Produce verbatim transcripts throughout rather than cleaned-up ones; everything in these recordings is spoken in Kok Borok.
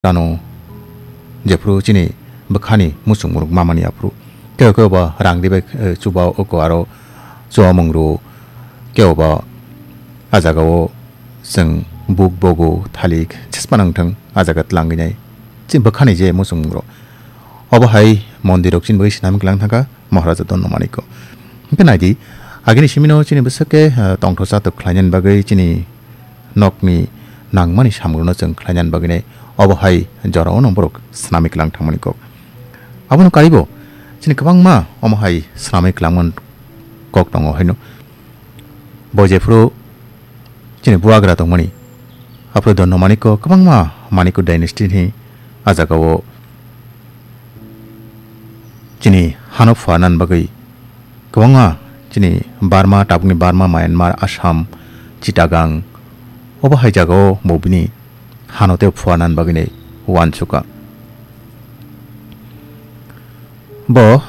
Tano jephru chini bwkhani muchung muruk mamani aphru. Kebo kebo ba rang ribai, eh, chuba oko aro chuamung ru. Kebo ba a jagao chwng buk bogo thalik chesma nang thang a jaga tlanginai. Chini bwkhani je muchung muruk. Obo hai mondirok chini bagwi swnam klang thangkha. Maharaja Donno Manikko. Hwnkhe naidi, agini simino chini bwswk khe, eh, tongthosa tok khlainani bagwi chini nokni nangmani samungrokno chwng khlainani bagwinai obo hai jorao no borok swnamwi klang thangmani kok. Abono karibo chini kwbangma omo hai swnamwi klangmani kok tongo haino. Bo jephru chini buagra tongmani. Aphuru Donno Manikko kwbangma Manikko dynasty ni a jagao chini hano phuarnani bagwi kwbangma chini Burma, tabukni Burma, Myanmar, Assam, Chittagong, obo hai jagao bo bini hano tei phuarnani bagwinai uansukha. Bo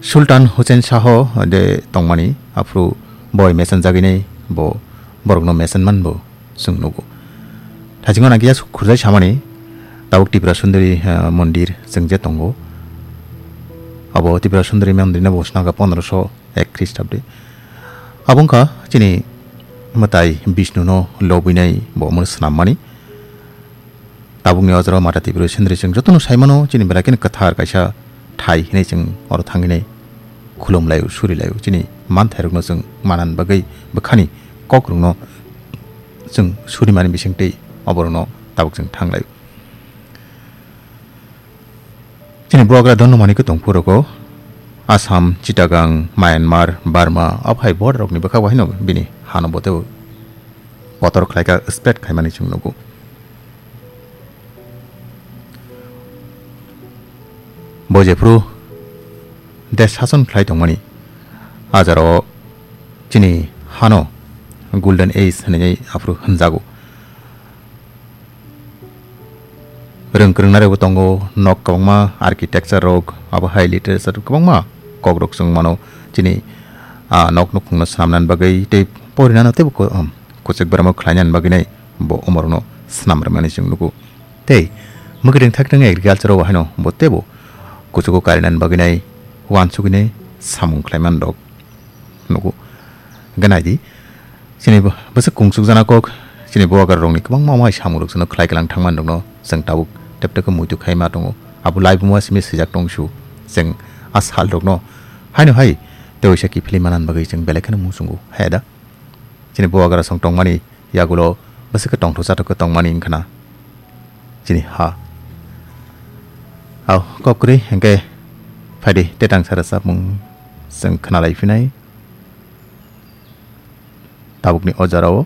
Sultan Hussein Shaho de tongmani, aphuru boi mesenjagwinai bo borokno mesenman bo chwng nugo. Thaichingno nangkhe ya khurjai samani, tabuk Tripura Sundari, eh, mondir chwng je tongo. Abo Tripura Sundari mondirno bo swnamkha pondroso ek Khristabde. Abo wngkha chini mwtai Bishnuno lobwinai bo omono swnammani. Tabukni o jorao Mata Tripura Sundari chwng jotono saimano chini belai kheno kwthar kaisa thai hinwi chwng oro thangwi nai khulumlaio, surilaio. Chini manthairokno chwng manani bagwi bwkhani kokrokno chwng surimani bisingtwi oborokno tabuk chwng thanglaio. Chini buagra Donno Manikko tongphuru rwgo Assam, Chittagong, Myanmar, Burma, obo hai border rokni bwkha bo haino bini hano bo teibo kotor khlaikha, spread khaimani chwng nugo. Bo jephru desh sason khlai tongmani, a jorao chini hano Golden Age hinwi aphuru hwnjago. Rwng kwrwngnairokbo tongo, nok kwbangma architecture rok, abo hai literature kwbangma kokrok chwng mano chini, ah, nok nukhungno swnamnani bagwi tei porinano teibo ko-, um, kwchwk beramo khlainani bagwinai bo omorokno swnam rwmani chwng nugo. Tei mwkhwtwng thakthwng agriculture o haino bo teibo kuchugo karinani bagwinai uansugwinai samung khlaimanrok nugo. Hwnkhe naidi, chini bo-, bwswk kungsukjana kok, chini buagra rokni kwbangma omo hai samungrok chwngno khlai kwlang thangmanrokno chwng tabuk tep tep khe muitu khaima tongo. Abo laibuma simi swijak tongsu, chwng a salrokno haino hai tei waisa kiphilwi manani bagwi chwng belai kheno muchungo, hai da? Chini buagra song tongmani yagulo bwswk khe tongthok chathok khe tongmani wngkhana chini ha. Au kok kwrwi hwnkhe phaidi tetang sara chapmung chwng khwnalai phinai tabukni o jorao.